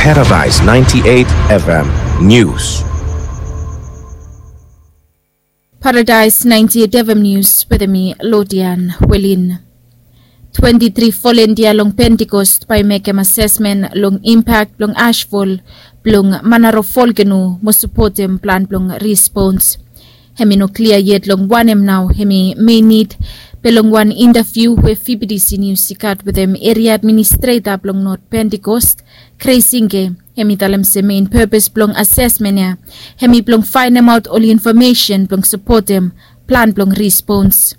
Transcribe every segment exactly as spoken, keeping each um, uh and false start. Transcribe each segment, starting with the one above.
Paradise ninety-eight F M News. Paradise ninety-eight F M News wetem mi Lodian Welin. Twenti tri volunteer long Pentecost bae i mekem asesmen long impak blong ashfall blong Manaro volkeno mo sapotem plan blong respons. Hem i no klia yet long wanem nao hem i mein nid, be long wan intaviu we V B D C News i gat wetem eria administreta blong North Pentecost, Kreisinge, hem i talem se mein pepes blong asesmen ya hem i blong faenemaot ol infomesen blong sapotem plan blong respons.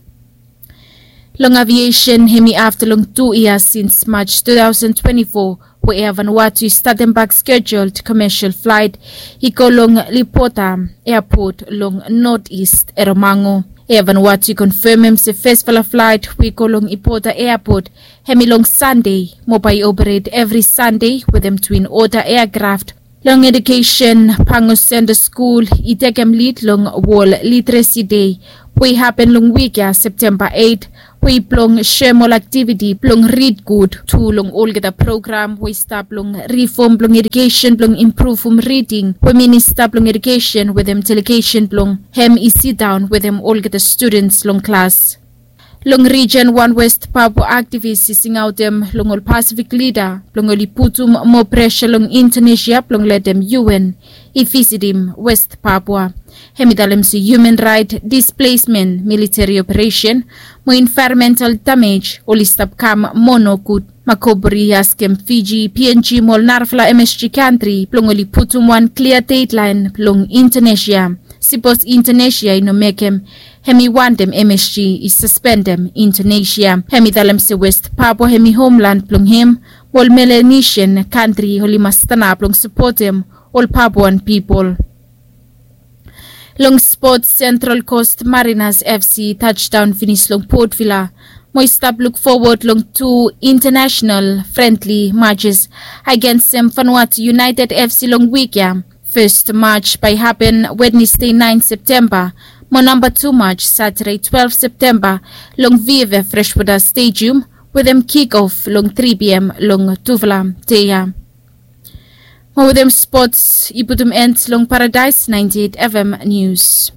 Long aviesen hem i afta long tu yia sins Maj tu taosen twenti fo we Air Vanuatu i statem bak skejul komesel flaet i go long Lipota eapot long Not Ist Eromango. Air Vanuatu i konfemem se fesfala flaet we i go long Lipota eapot hem i long Sande mo bae i operet evri Sande wetem twin ota eakraft. Long edukesen, Pango Senta Skul i tekem lid long Wol Literesi Dei we i hapen long wik ya, Septemba eit, we i blong soem ol aktiviti blong rid gud tu long olgeta program we i stap long rifom blong edukesen blong impruvum riding we minista blong edukesen wetem delegesen blong hem i sidaon wetem olgeta studens long klas. Long rijen, wan West Papua aktivis i singaotem long ol Pasifik lida blong oli putum moa presa long Indonesia blong letem U N i visitim West Papua. Hem i talem se human rait displesmen, militeri operesen mo envaeronmental damej oli stap kam moa nogud. Makoburi i askem Fiji, P N G mo ol narafala M S G kantri blong oli putum wan klia dedlaen long Indonesia. Sipos Indonesia i no mekem, hem i wantem M S G i saspendem Indonesia. Hem i talem se West Papua hem i homlan blong hem, mo ol Melanesian kantri oli mas stanap blong sapotem ol Papuan pipol. Long spots, Central Coast Mariners F C i tajdaon finis long Port Vila mo i stap luk fowod long tu intanasonal frendli majes agensem Vanuatu United F C long wik ya. Fes maj bae i hapen Wednesde naen Septemba mo namba tu maj Satade twelef Septemba long V F F Freshwater Stadium wetem kikof long tri P M long tufala dei ya. Mo wetem spots i putum en long Paradise ninety-eight F M News.